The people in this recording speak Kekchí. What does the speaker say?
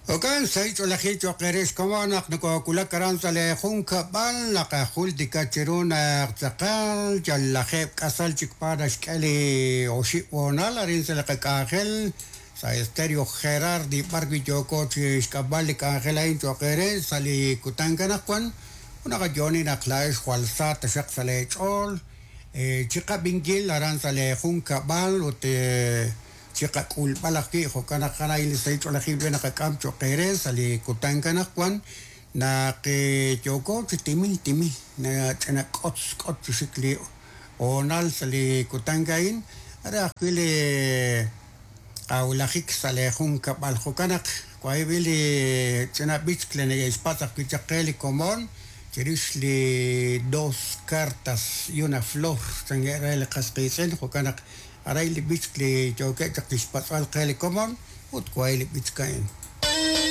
Jo'kan sahil ch'oolejil cho'q eere xkomon naq nokoowulak aran sa' leejunkab'al, naqajultika cheru naq tz'aqal yal lajeeb' k'asal chik pa naxk'e li oxib' hoonal arin sa' li qak'anjel sa' Estéreo Gerardi b'arwi' yooko chi xk'amb'al li k'anjel a'in cho'q eere sa' li kutan anaqwan ut naqayo'oni naq laa'ex jwal sa taxaq sa' leech'ool chiqab'inkil aran sa' leejunkab'al ut chiqak'ulb'al ajwi' jo'kan naq a'in li sahil ch'oolejil b'e naqak'am cho'q eere sa' li kutan anaqwan naq yooko chi timil timil ch'ina k'otz k'ot chi xik li hoonal sa' li kutan a'in re ajwi' li qawulajik sa' leejunkab'al jo'kan naq wahi'b'il li ch'ina b'ich li neke'xpatz' ajwi' chaq qe li komon chirix li dos cartas y una flor chankeb' re li qas qiitz'in jo'kan naq aray li b'ich li yookeb' chaq chixpatz'b'al qe li komon ut wahi' li b'ich a'in.